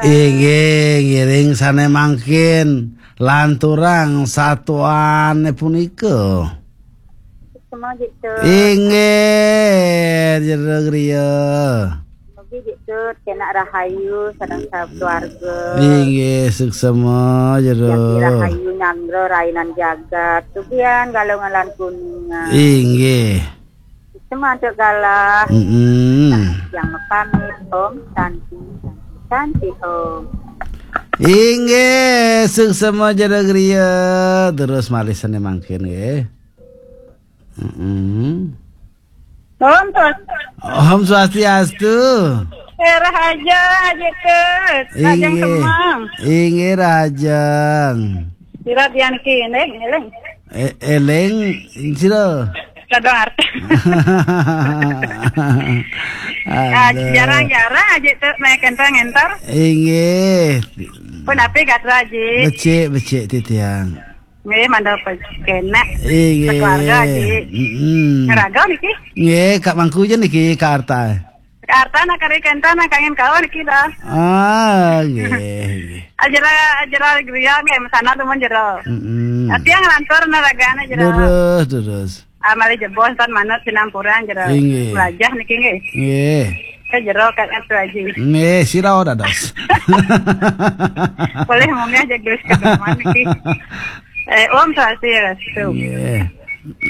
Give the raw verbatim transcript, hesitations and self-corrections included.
Inggih, ngiring sané mangkin lanturang satuané punika. Semua gitu. Inggih, jero griya. Mugi gitu, kena rahayu, sareng sakeluarga. Inggih, suksema, jero. Yang rahayu nyanggra rainan jagat. Tugian galungan lan kuningan. Inggih. Semua untuk galah. Mm-mm. Yang pamit, Om Santi, Santi, Om. Inggih, suksema jero griya. Terus malih sané mangkin nggih. Mm-mm. Om Swastiastu. Om Swastiastu. Eh, Rahaja, Aji Tut. Rahajeng Inggih. Semeng. Inggih, Rahajeng. Sira dian ki, eling, eling. Eh, eling, sira. Kadang arti. Ah, aduh. Jarang-jarang Aji Tut naik entar-entar. Inggih. Pun api gatra, Aji. Becik, becik titiang. Nggih, mandhap kenek. Inggih. Sekeluarga, Ji. Mm-mm. Raga niki? Nggih, Kak Mangku ja niki, Kak Arta. Kak Arta nak kari kenta nak kangen kawan niki dah. Ah, nggih, nggih. Ajera, ajera griya nggih, mesana temen jero. Mm-mm. Tapi yang ngelantur na ragane jero. Terus, terus. Amale jebos tan manut sinampuran jero. Inggih. Belajar niki nggih. Nggih. Ke jero Kak Arta, Ji. Nggih, sira dados. Boleh mungkin aja gelis ke depan niki. Eh, Om Swastiastu. Nggih.